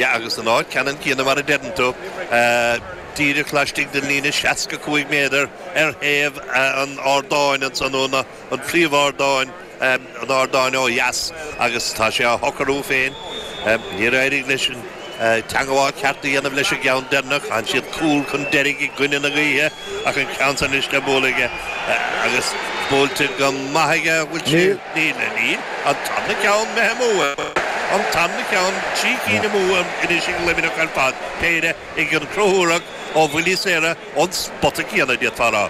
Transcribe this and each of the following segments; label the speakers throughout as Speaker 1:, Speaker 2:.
Speaker 1: Yeah, agus an áit ceannann céanna mar a deireann tú, díreach laistigh den líne 65 méadar ar thaobh an ardáin ansan, nó an phríomhardáin, an ardáin ó dheas, agus tá sé á shocrú féin. Níor éirigh leis an teangmháil ceart a dhéanamh leis an gceann deireanach. Chan siad cúl chun deiridh i gcoinne na gaoithe ach an ceann san anois le bualadh aige agus buailte go maith aige. An bhfuil sé? Níl. Níl. An tarna ceann imithe amú. An tarna ceann, 3 cinn amú anois ag Luimneach ar fad, péire ag an Conchúrach ó bhuillí saora ón spota céanna, d'fhéadfá a rá.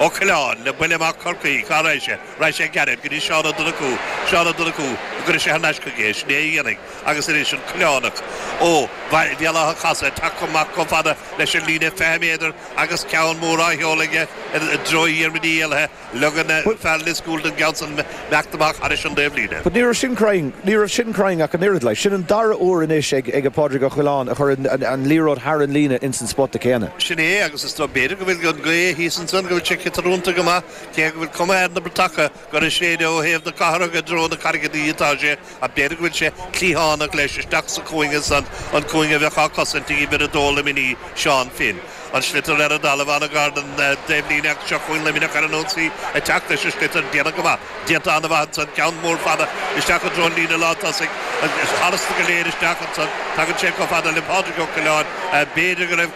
Speaker 1: Ó Coileáin le buille amach Chorcaí. Cá raghaidh sé? Raghaidh sé gairid go dtí Seán Ó Donnchú. Seán Ó Donnchú, an gcuirfidh sé thar n-ais chuige é? Sin é a dhéanfaidh. Agus anois an Coileánach ó Bhéal Átha Chasaidh ag teacht amach chomh fada leis an líne 20 méadar agus ceann mór á sheoladh aige i dtreo Dhiarmuid Uí Éallaithe. Leoga fear Lios Cúil don gceann san imeacht amach thairis an dtaobhlíne.
Speaker 2: But ní raibh sin cruinn, ní raibh sin cruinn ach an oiread. Like, sin an dara huair anois ag ag Pádraig Ó Coileáin a chuir an an liathróid thar an líne ins an spota céanna.
Speaker 1: Sin é, agus is dóigh, b'fhéidir go bhfuil an ghaoth thíos ansan, go bhfuil sé ciotrúnta go maith, cé go bhfuil cuma ar na bratacha gur ag séideadh ó thaobh na cathrach i dtreo na Carraige atá sé, ach b'fhéidir go bhfuil sé cliathánach leis isteach sa chúinge san, an cúinge a bheadh á cosaint ag uimhir a dó Luimnigh, Seán Finn. An sliotar ar an dtalamh an-ghar don dtaobhlíne ach seo chugainn Luimneach ar an ionsaí ag teacht leis an sliotar. Déanamh go maith. Déanta an-mhaith ansan. Ceann mór fada isteach i dtreo an líne lántosaigh. Tharasta go léir isteach ansan. Tagann sé chomh fada le Pádraig Ó Coileáin. B'fhéidir go raibh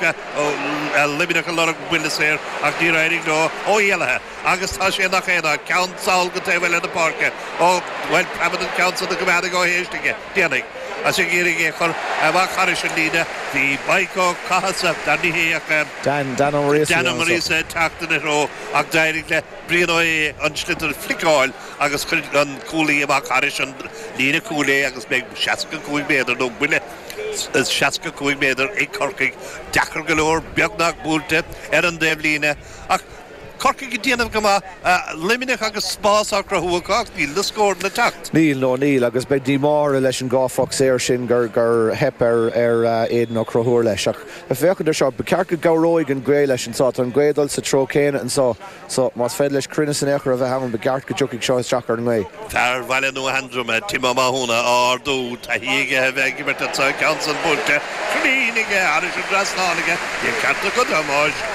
Speaker 1: Luimneach ag lorg buille saor ach níor éirigh leo. Ó hÉallaithe agus tá sé nach aon áit. Ceann sall go taobh eile na páirce. Ó, bhuel, preabann an ceann san go gcoimeádfaidh Ó hÉistigh é. Déanfaidh. Is ag iarraidh é a chur amach thairis an líne bhí Mike Ó Cathasaigh, dar ní hé ach
Speaker 2: Dan, Dan Ó Muiríosa,
Speaker 1: Dan Ó Muiríosa ag teacht ina threo ach d'éirigh le Brian Ó hAodha an sliotar a fliceáil agus chuir an cúlaí amach thairis an líne cúil é agus beidh 65 méadar nó buille 65 méadar ag Corcaigh. Deacair go leor, beagnach buailte ar an dtaobhlíne ach Corcaigh ag déanamh go maith, Luimneach agus spás á chruthú acu ach níl na scóranna ag teacht.
Speaker 2: Níl, no níl, agus beidh díomá orthu leis an dhá phoc saor sin gur theip ar Aidan Ó Conchúir leis. Ach ag féachaint ar seo, ba cheart go gcabhróidh an ghaoth leis anseo. Tá an ghaoth ag dul sa treo céanna anseo so más féidir leis cruinneas in aon chor a bheith ann, ba cheart go dtiocfaidh seo isteach ar an ngaoth.
Speaker 1: Fear Bhaile Nua Sheandroma, Tim Ó Mathúna, á ardú, taithí aige a bheith ag imirt anseo, an ceann san buailte, cruinn aige, thairis an dtrasnán aige, bhí an ceart agat, a Thomáis.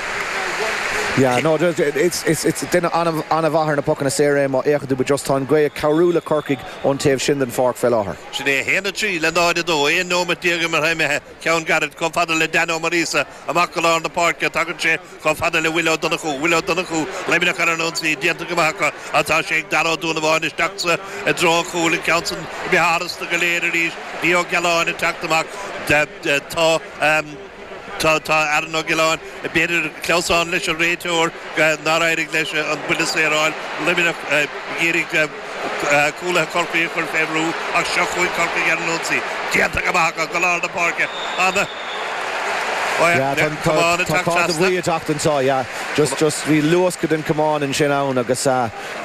Speaker 2: Yeah, no, it's, it's, it's duine an-mhaith ar na pocanna saora é má fhéachann tú, but just tá an ghaoth ag cabhrú le Corcaigh ón taobh sin den pháirc fé láthair.
Speaker 1: Sin é 1, 3 le 0, 2, 11 nóiméad imeartha imithe, ceann gairid chomh fada le Dan Ó Muiríosa, amach go lár na páirce, tagann sé Chomh fada le Will Ó Donnchú, Will Ó Donnchú, Luimneach ar an ionsaí, déanta go maith acu, ach tá sé ag Dara Ó Dúnabháin isteach sa i dtreo an chúil, an ceann san imithe tharasta go léir arís, bhí Ó Gealáin ag teacht amach, tá tá tá Aaron Ó Gealáin, b'fhéidir clamhsán leis an réiteoir nár éirigh leis an buille saor a fháil, Luimneach ag iarraidh cúlaithe Chorcaí a chur fé bhrú ach seo chugainn Corcaigh ar an ionsaí, déanta go maith acu go lár na páirce, ana.
Speaker 2: Yeah, tá camán ag teacht trasna. Tá cárta buí ag teacht anseo, yeah. Just, just, bhí luascadh den chamán ansin ann agus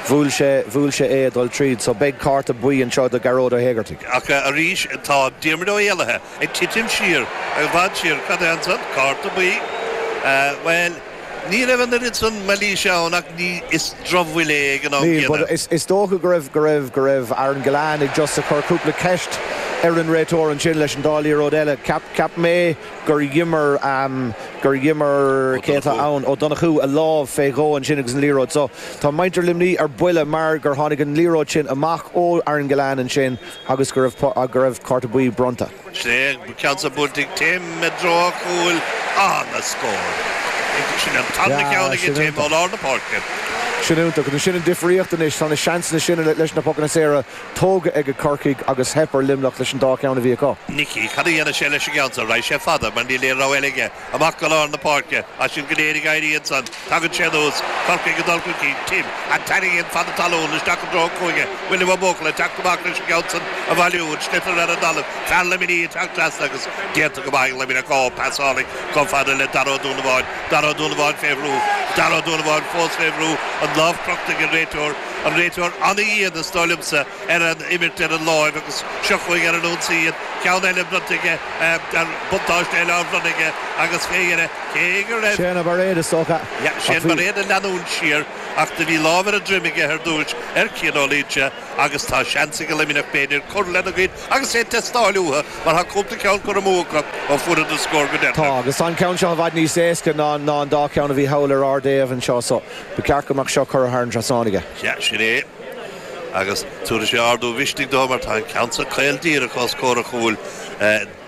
Speaker 2: bhuail sé, bhuail sé é ag dul tríd. So beidh cárta buí anseo do Ghearóid Ó hÉigeartaigh.
Speaker 1: Ach arís tá Diarmuid Ó hÉallaithe ag titim siar, i bhfad siar. Cad é ansan? Cárta buí. Bhuel, ní raibh an oiread san mailíse ann ach ní, is drochbhuille é ag an am
Speaker 2: Níl, but is, is dócha go raibh, go raibh, go raibh Aaron Gillane ag just ag cur cúpla ceist ar an réiteoir ansin leis an dá liathróid eile. Ceap, cheap mé gur dh'imir, gur dh'imir, cé atá ann, Ó Donnchú a lámh fé dhó ansin agus an liathróid. So, tá muintir Luimnigh ar buile mar gur tháinig an liathróid sin amach ó Aaron Gillane ansin agus go raibh, go raibh cárta buí bronnta.
Speaker 1: Sin é an ceann san buailte ag Tim i dtreo an chúil. Ana-scór. Sin an tarna ceann aige Tim ó lár na páirce.
Speaker 2: Sin iontach. Agus sin an difríocht anois. Tá na seansanna sin leis na pocanna saora tógtha ag Corcaigh agus theip ar Luimneach leis an dá cheann a bhí acu.
Speaker 1: Nicky, cad a dhéanfaidh sé leis an gceann seo? Raghaidh sé fada mar níl aon rogha eile aige. Amach go lár na páirce. Tá siad go léir ag éirí ansan. Tagann sé anuas. Corcaigh ag dul chun cinn. Tim. An tarraingíonn fada talún isteach i dtreo an chúinne. William Ó Buachalla ag teacht amach leis an gceann san a bhailiú. An sliotar ar an dtalamh. Fear Luimnigh ag teacht trasna agus déanta go maith ag Luimneach. Ó, pas álainn chomh fada le Dara Ó Dúnabháin. Dara Ó Dúnabháin fé bhrú. Dara Ó Dúnabháin fós fé bhrú. An lámh crochta ag an réiteoir. An réiteoir an-dhian is dóigh liomsa ar an imirt ar an láimh agus seo chugainn ar an ionsaí iad. Ceann eile bronnta aige, buntáiste eile á bhronnadh aige agus fé dheireadh, cé go raibh.
Speaker 2: Shane Bairéad is dócha.
Speaker 1: Yeah, Shane Bairéad ag leanúint siar. ach do bhí lámh ar an droim aige ar dtúis ar Cian Ó Loingsigh agus tá seans ag Luimneach b'fhéidir cur lena gcuid agus é ag teastáil uathu mar tá cúpla ceann curtha amú acu ó fuaireadar scór go
Speaker 2: deireanach. Tá, agus tá an ceann seo i bhfad níos éasca ná an dá cheann a bhí thall ar ár dtaobh anseo so ba cheart go mbeadh seo curtha thar an trasnán aige.
Speaker 1: Sea, sin é. Agus tabharfaidh sé ardú mhisnigh dó mar tá an ceann seo caol díreach os comhair a chúil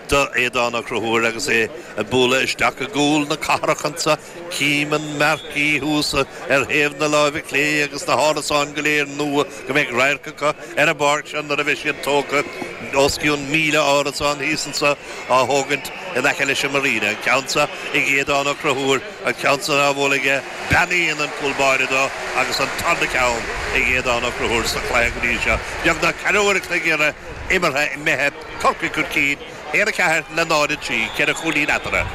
Speaker 1: do Aodán Ó Conchúir agus é ag bualadh isteach i gcúl na cathrach anso. Cím an marquee thuas ar thaobh na láimhe clé agus na hárasáin go léir nua go mbeidh radharc acu ar an bpáirc seo nuair a bheidh siad tógtha. Os cionn 1,000 árasán thíos anso á thógaint in aice leis an Marina. An ceann seo ag Aodán Ó Conchúir, an ceann san á bhualadh aige, beannaíonn an cúl báire dó agus an tarna ceann ag Aodán Ó Conchúir sa chluiche go dtí seo. Beagnach ceathrú uair a chloig imeartha imithe, Corcaigh chun cinn, 1-4 le 0-3, ceithre chúilín eatarthu.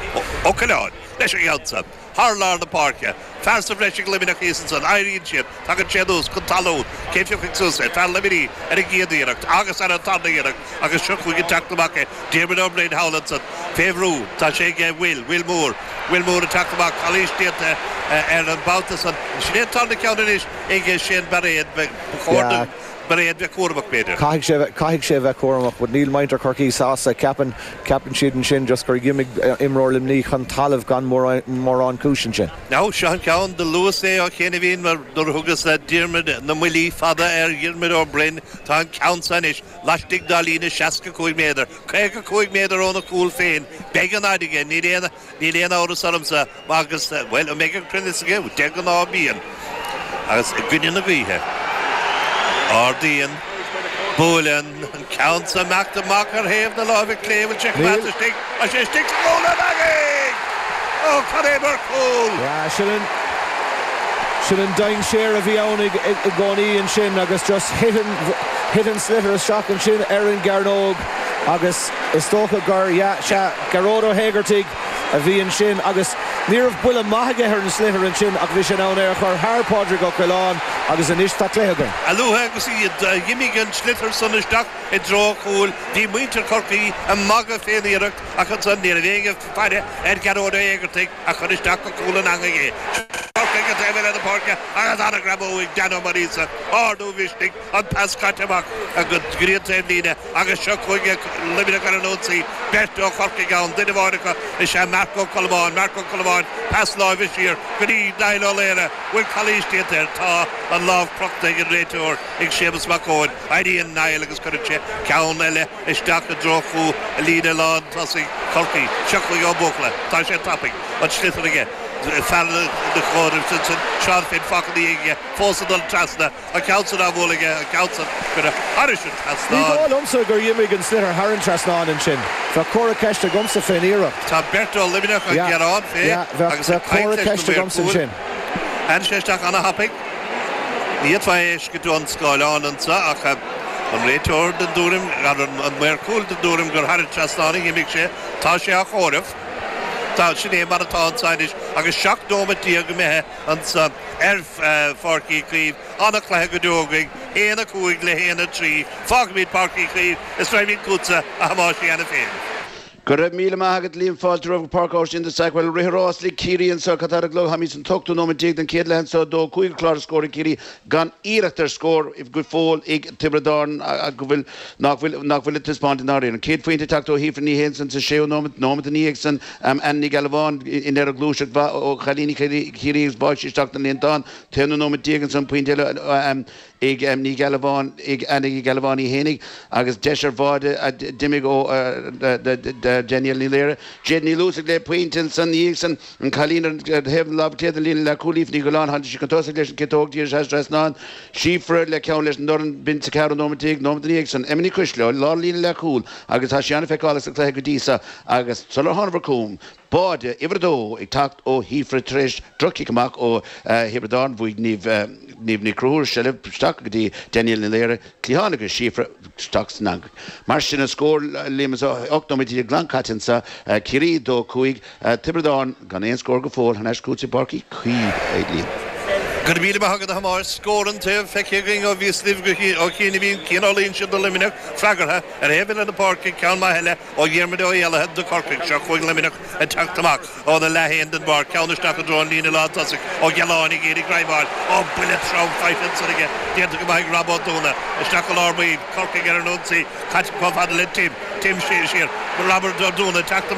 Speaker 1: Ó Coileáin leis an gceann seo. Thar lár na páirce. Fear sa bhreis ag Luimneach thíos ansan. Éiríonn siad. Tagann sé anuas chun talún. Cé phiocfaidh suas é? Fear Luimnigh ar an gcéad iarracht agus ar an tarna iarracht agus seo chugainn ag teacht amach é. Diarmuid Ó Broin thall ansan. Fé bhrú. Tá sé aige Will. Will Moore. Will Moore ag teacht amach. Calaois déanta ar an mbabhta san. Sin é an tarna ceann anois ag Shane Bairéad. Ba chóir do. Bairéad bheith cúramach, b'fhéidir.
Speaker 2: Caithfidh sé bheith, caithfidh sé bheith cúramach, but níl muintir Chorcaí sásta. Ceapann, ceapann siad ansin just gur dh'imigh imreoir Luimnigh chun talaimh gan mórán, mórán cúis ansin.
Speaker 1: Now, seo an ceann, do luas é ó chianaibhín mar nuair a thugas Diarmuid na mBuillí Fada ar Dhiarmuid Ó Broin, tá an ceann seo anois laistigh dá líne 65 méadar, 55 méadar óna chúl féin. Beidh an fhaid aige, níl aon, Níl aon amhras ormsa, agus, bhuel, an mbeidh an cruinneas aige? De ghnáth bíonn. Agus i gcoinne na gaoithe. Ardaíonn, buaileann, an ceann seo imeacht amach ar thaobh na láimhe clé, bhfuil sé coimeádta istigh? Tá sé istigh sa gcúl an eangaigh! Ó, cad é mar chúl!
Speaker 2: Yeah, sin an, sin an dainséar a bhí ann i gcónaí ansin agus just thit an, thit an sliotar isteach ansin ar an gcearnóg agus is dócha gur, yeah, sea, Gearóid Ó hÉigeartaigh a bhí ansin agus ní raibh buille maith aige ar an sliotar ansin ach bhí sé in ann é a chur thar Pádraig Ó Coileáin agus anois tá cluiche againn.
Speaker 1: A luaithe agus a dh'imigh an sliotar san isteach i dtreo an chúil bhí muintir Chorcaí ag magadh fén iarracht ach ansan ní raibh éinne ag faire ar Ghearóid Ó hÉigeartaigh a chuir isteach go cúl an eangaigh é. Corcaigh an taobh eile den pháirce agus an-ghreamú ag Dan Ó Maonaíosa, ardú mhisnigh, an pas caite amach go dtí an taobhlíne agus seo chugainn Luimneach ar an ionsaí, beirt ó Chorcaigh ann, duine amháin acu is ea Marc Ó Colmáin, Marc Ó Colmáin, pas láimhe siar go dtí Niall Ó Laoire, bhfuil calaois déanta air? Tá an lámh crochta ag an réiteoir, ag Séamus Mac Eoin, éiríonn Niall agus cuireann sé ceann eile isteach i dtreo chú líne lán tosaigh Chorcaí. Seo chugainn Ó Buachalla, tá sé tapaidh, an sliotar aige, fear na comhairimh ansin, Seán Finn fágtha ina dhiaidh aige, fós ag dul trasna. An ceann san á bhualadh aige, an ceann san curtha thairis an
Speaker 2: Ní trasnán. dóigh liomsa gur dh'imigh an sliotar thar an trasnán ansin. Bheadh comhartha ceiste agamsa fén iarracht.
Speaker 1: Tá beirt ó Luimneach ag
Speaker 2: Yeah,
Speaker 1: gearán fé
Speaker 2: yeah, bheadh,
Speaker 1: agus ag
Speaker 2: bheadh
Speaker 1: caint
Speaker 2: comhartha
Speaker 1: leis na
Speaker 2: ceiste
Speaker 1: maoir
Speaker 2: agamsa
Speaker 1: chúil.
Speaker 2: ansin.
Speaker 1: Tháinig sé isteach ana-thapaidh. Ní fhéadfá é a fheiscint ón scáileán anso ach an réiteoir den dtuairim, an maor cúil den dtuairim gur thar an trasnán a dh'imigh sé. Tá sé á chomhaireamh. Tá, sin é mar atá anso anois agus 17 nóimeat imithe anso. Ar Pháirc Uí Chaoimh, an-chluiche go deo againn, 1, 5 le 1, 3. Fágfaimid Páirc Uí Chaoimh is raghaimid chugatsa, a Thomáis, cheana féin.
Speaker 3: Go raibh míle maith agat Liam, fáilte romhat go Páirc Áisín de Stockwell. Rith an rás le Ciarraí anseo, cad tá ar an gclog? Táimid san t-ochtú nóiméad déag den chéad leath anseo, 2, 5 an clár ar scór ag Ciarraí gan iarracht ar scór go fóill ag Tiobraid Árann go bhfuil nach bhfuil nach bhfuil ag taispeáint i ndáiríre. An chéad phointe ag teacht ó Shíofra Ní Shé ansan sa séú nóiméad, nóiméad ina dhiaidh san. Anna Ní Ghealbháin i ndeireadh gluaiseacht mhaith ó chailíní Chiarraí agus bháigh sí isteach don líontán. T-aonú nóiméad déag ansan pointe eile ag Ní Ghealbháin ag Anna Ní Ghealbháin í fhéinig agus deis ar bháide a d'imigh ó Danielle Ní Laoire. Jade Ní Luasaigh le pointe ansan ina dhiaidh san. An cailín ar thaobh na láimhe clé den líne leath chúil Aoife Ní Ghiolláin tháinig sí chun tosaigh leis an ciotóg díreach thar an trasnán. Síofra le ceann leis an dorn b'in sa ceathrú nóiméad déag, nóiméad ina dhiaidh san. Emma Ní Choisdealbha, lár líne leath chúil agus tá sí an-fheiceálach sa chluiche go dtí seo. Agus sular thánamar chugam, báide uimhir a dó ag teacht ó Shíofra tar éis droch-chic amach ó Thiobraid Árann, bhuaigh Niamh Ní Chonchúir seilbh isteach go dtí Danielle Ní Laoire, cliathán agus Síofra isteach san eangach. Mar sin an scór, Liam, is 18 nóiméad glan caite anseo, Ciarraí 2, 5, Tiobraid Árann gan aon scór go fóill, thar n-ais chugatsa i bPáirc Uí Chaoimh, a Liam.
Speaker 1: Go raibh míle maith agat a Thomáis. Scór an taobh feicthe againn ó bhíos libh ó chianaibh. Bhí an cineál ansin do Luimneach freagartha ar thaobh eile na páirce, ceann maith eile ó Dhiarmuid Ó hÉallaithe do Chorcaigh. Seo chugainn Luimneach ag teacht amach óna leath féin den bpáirc, ceann isteach i dtreo an líne lántosaigh. Ó Gealáin ag iarraidh greadadh. Ó, buille trom faighte ansan aige, déanta go maith ag Rob Ó Dúna. Isteach i lár baill, Corcaigh ar an ionsaí, caite chomh fada le Tim. Tim siar, siar. Robert Ó Dúna ag teacht amach.